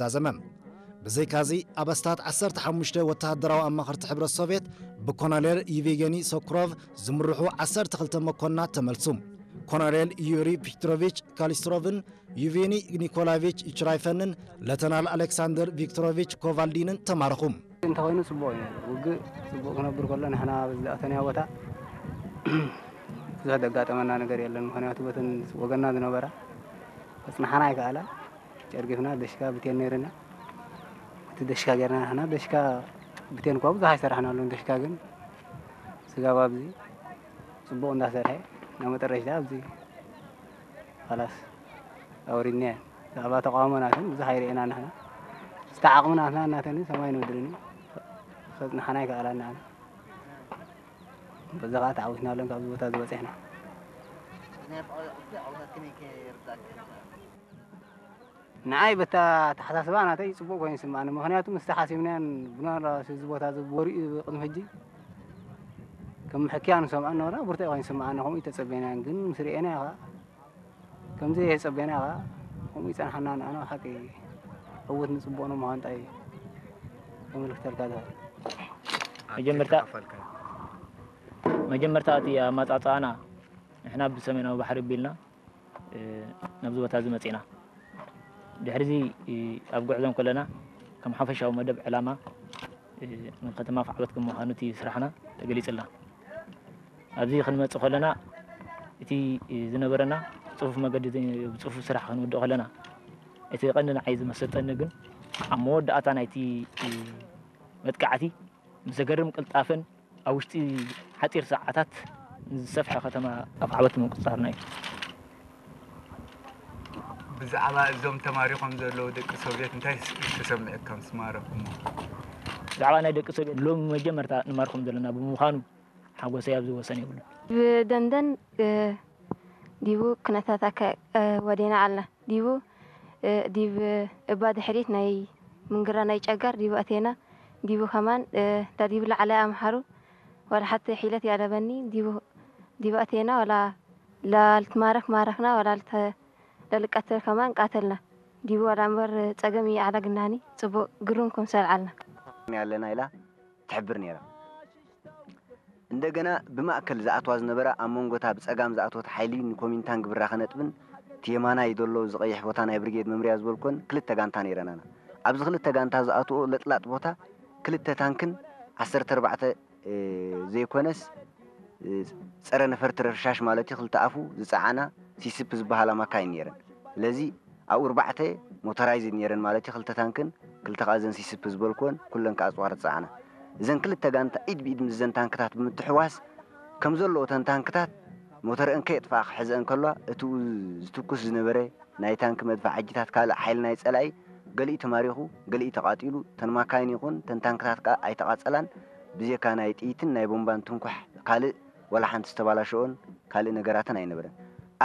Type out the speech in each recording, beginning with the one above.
ተዛዘመ። ብዘይካዚ፣ ኣብ ኣስታት ዓሰርተ ሓሙሽተ ወተሃደራዊ ኣማኸርቲ ሕብረት ሶቭየት ብኮሎኔል ዩቬጌኒ ሶክሮቭ ዝምርሑ ዓሰርተ ክልተ መኮንናት ተመልሱ። ኮሎኔል ዩሪ ፒትሮቪች ካሊስትሮቭን ዩቬኒ ኒኮላቪች ችራይፈንን ለተናል ኣሌክሳንደር ቪክቶሮቪች ኮቫልዲንን ተማረኹ። እንተኾይኑ ጽቡቕ እዩ። ውግእ ጽቡቕ ክነብር ከሎ ንሕና ኣብ ዝኣተናዮ ቦታ ብዙሕ ዘጋጠመና ነገር የለን። ምኽንያቱ በተን ወገንና ዝነበራ ከጽንሓና ኣይከኣላ። ጨርጊፍና ደሽካ ብቴን ነይርና። እቲ ደሽካ ጌርና ንሕና ደሽካ ብቴን እኳ ብዙሕ ኣይሰራሕናሉን። ደሽካ ግን ስጋብ ኣብዚ ጽቡቕ እንዳሰርሐ ናብ መጠረሽታ ኣብዚ ኻላስ ኣውሪድናየን። ብዛዕባ ተቃውሞ ናተን ብዙሕ ኣይርኤና ንሕና። እስተ ዓቕሚ ናትና እናተን ሰማይ ንምድርን እዩ። ከጽንሓና ኣይከኣላን ንዓና። በዛ ኸዓ ተዓዊትናለን ካብዚ ቦታ ዝበጺሕና። ንዓይ በታ ኣተሓሳስባ ናተይ ጽቡቕ ኮይኑ ይስምዓኒ። ምኽንያቱ ምስቲ ሓሲብናዮን ብናትናስ እዚ ቦታ እዚ ወሪኡ ቅድሚ ሕጂ ከም ምሕክያ ንሰምዖ ነበርና፣ ብርቱዕ ኮይኑ ይስምዓኒ። ከምኡ እዩ ተጸበናዮን፣ ግን ምስ ርኤናዮ ኸዓ ከምዚ ተጸበናዮ ኸዓ ከምኡ ይጸንሓና። ንዓና ብሓቂ ዕዉት ንጽቡቕ ንምዃን እንታይ ከመልክተልካ ዝኽእል? መጀመርታ መጀመርታ እቲ ኣመጻጽኣና ንሕና ብሰሜናዊ ባሕሪ ኣቢልና፣ እ፣ ናብዚ ቦታ እዚ መጺእና። ድሕሪዚ፣ እ፣ ኣብ ጉዕዞ እንከለና ከም ሓፈሻዊ መደብ ዕላማ፣ እ፣ ንከተማ ኣፍዓበት ከም ምዃኑ እቲ ስራሕና ተገሊጽልና። ኣብዚ ክንመጽእ ከለና እቲ፣ እ፣ ዝነበረና ጽፉፍ መገዲ፣ ጽፉፍ ስራሕ ክንውድእ ከለና፣ እቲ ቀንዲ ንዓይ ዝመሰጠኒ ግን ኣብ መወዳእታ ናይቲ፣ እ፣ መጥቃዕቲ ምስ ዘገርም ቅልጣፈን ኣብ ውሽጢ ሓጺር ሰዓታት ንዝሰፍሐ ከተማ ኣፍዓበት ምቁጽጻርና እዩ። ብዛዕባ እዞም ተማሪኾም ዘለዉ ደቂ ሶቭየት እንታይ ተሰሚዑካ ምስ ማረኹሞ? ብዛዕባ ናይ ደቂ ሶቭየት ሎሚ መጀመርታ ንማርኾም ዘለና ብምዃኑ ሓጎሰይ ኣብዚ ወሰን የብሉን። ብደንደን፣ እ፣ ዲቡ ኩነታት ኣካ-፣ እ፣ ወዴና ኣላ። ዲቡ፣ እ፣ ዲብ እባ ድሕሪት ናይ ምንግራ ናይ ጨጋር ዲቡ ኣቴና። ዲቡ ከማን፣ እ፣ ዳዲቡ ላዕላይ ኣምሓሩ ዋላ ሓቲ ሒለት ያለበኒ። ዲቡ፣ ዲቡ ኣቴና ዋላ ላልትማረክ ማረክና ዋላ ልተ-፣ ለልቀትል ከማን ቃተልና። ዲቡ ዋላ እምበር ጸገም ይኣዕላ ግናኒ ጽቡቕ ግሩም ክምሰል ዓልና። ያለና ኢላ ትሕብር ነይራ። እንደገና ብማእከል ዝኣትዋ ዝነበራ ኣብ መንጎ እታ ብጸጋም ዝኣትወት ሓይሊ ንኮሚንታንግ ብራኸ ነጥብን እቲ የማናይ ዘሎ እዚ ቀይሕ ቦታ ናይ ብርጌድ መምርያ ዝበልኮን ክልተ ጋንታ ነይረናና። ኣብዚ ክልተ ጋንታ ዝኣትዎ ለጥላጥ ቦታ ክልተ ታንክን ዓሰርተ ኣርባዕተ፣ እ፣ ዘይኮነስ፣ እ፣ ጸረ ነፈርቲ ረሻሽ ማለት እዩ፣ ክልተ ኣፉ ዝጸዓና ሲስፕ ዝበሃላ ማካይን ነይረን። ስለዚ ኣብኡ ኣርባዕተ ሞተራይዝድ ነይረን ማለት እዩ፣ ክልተ ታንክን ክልተ ከኣ እዘን ሲስፕ ዝበልክወን ኩለን ከኣ ኣጽዋር ዝጸዓና። እዘን ክልተ ጋንታ ኢድ ብኢድ ምስ እዘን ታንክታት ብምትሕዋስ ከም ዘለዎ እተን ታንክታት ሞተርአን ከየጥፍኣ ክሕዘአን ከለዋ እቲኡ ዝትኩስ ዝነበረ ናይ ታንክ መድፍዓጂታት ካልእ ሓይሊ ናይ ጸላኢ ገሊኡ ተማሪኹ፣ ገሊኡ ተቓጺሉ፣ እተን ማካይን ይኹን እተን ታንክታት ከኣ ኣይተቓጸላን። ብዜካ ናይ ጥይትን ናይ ቦምባን ትንኳሕ ካልእ ዋላ ሓንቲ ዝተባላሸኦን ካልእ ነገራትን ኣይነበረን።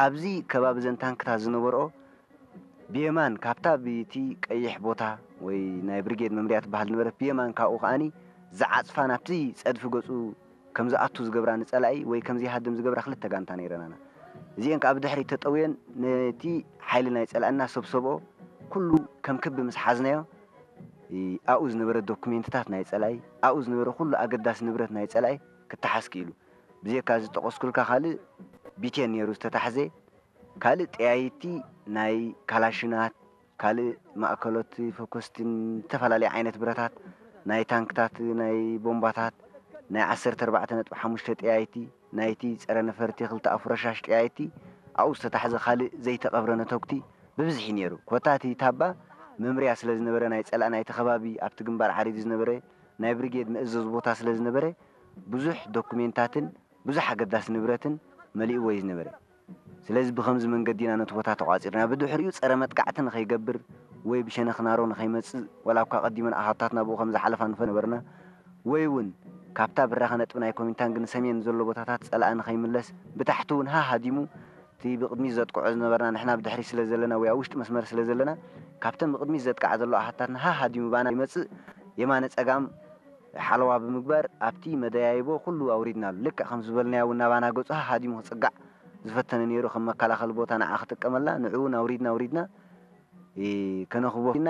ኣብዚ ከባቢ እዘን ታንክታት ዝነበርኦ ብየማን ካብታ ብቲ ቀይሕ ቦታ ወይ ናይ ብሪጌድ መምርያ ትበሃል ዝነበረት ብየማን ካብኡ ከኣኒ ዝዓጽፋ ናብቲ ጸድፊ ገጹ ከም ዝኣቱ ዝገብራ ንጸላኢ ወይ ከም ዘይሃድም ዝገብራ ክልተ ጋንታ ነይረናና። እዚአን ከኣ ብድሕሪት ተጠውየን ነቲ ሓይሊ ናይ ጸላእና ሰብሰብኦ ኩሉ ከም ክቢ ምስ ሓዝናዮ፣ እ፣ ኣብኡ ዝነበረ ዶኩሜንትታት ናይ ጸላኢ፣ ኣብኡ ዝነበረ ኩሉ ኣገዳሲ ንብረት ናይ ጸላኢ ክተሓዝ ክኢሉ። ብዜካ ዝጠቐስኩልካ ካልእ ቢቴን ነይሩ ዝተታሕዘ፣ ካልእ ጠያይቲ ናይ ካላሽናት፣ ካልእ ማእከሎት ፈኮስትን ዝተፈላለየ ዓይነት ብረታት፣ ናይ ታንክታት፣ ናይ ቦምባታት፣ ናይ ዓሰርተ ኣርባዕተ ነጥቢ ሓሙሽተ ጠያይቲ፣ ናይቲ ጸረ ነፈርቲ ክልተ ኣፉ ረሻሽ ጠያይቲ ኣብኡ ዝተታሕዘ ካልእ ዘይተቐብረ ነተጉቲ ብብዝሒ ነይሩ። ኮታ እቲ ታባ መምርያ ስለ ዝነበረ ናይ ጸላእ ናይቲ ከባቢ ኣብቲ ግንባር ዓሪዱ ዝነበረ ናይ ብሪጌድ መእዘዚ ቦታ ስለ ዝነበረ ብዙሕ ዶኩሜንታትን ብዙሕ ኣገዳሲ ንብረትን መሊእዎ እዩ ዝነበረ። ስለዚ ብኸምዚ መንገዲ ኢና ነቲ ቦታ ተቋጺርና። ብድሕሪኡ ጸረ መጥቃዕቲ ንኸይገብር ወይ ብሸነኽ ናሮ ንኸይመጽእ፣ ወላ እኳ ቀዲመን ኣሃታትና ብኡ ከም ዝሓለፋ ንፈልጥ ነበርና፣ ወይ እውን ካብታ ብራኸ ነጥቢ ናይ ኮሚንታንግ ንሰሜን ዘሎ ቦታታት ጸላኢ ንኸይምለስ፣ ብታሕቲ እውን ሃሃዲሙ እቲ ብቕድሚት ዘጥቅዖ ዝነበርና ንሕና ብድሕሪት ስለ ዘለና ወይ ኣብ ውሽጢ መስመር ስለ ዘለና፣ ካብተን ብቕድሚት ዘጥቅዓ ዘሎ ኣሃታትና ሃሃዲሙ ባና ይመጽእ፣ የማነ ጸጋም ሓለዋ ብምግባር ኣብቲ መደያይቦ ኩሉ ኣውሪድናሉ። ልክዕ ከም ዝበልናዮ እውን ናባና ገጹ ሃሃዲሙ ክጽጋዕ ዝፈተነ ነይሩ፣ ከም መከላኸሊ ቦታ ንዓ ክጥቀመላ፣ ንዕኡ እውን ኣውሪድና፣ ኣውሪድና፣ እ፣ ከነኽቦ ኢና።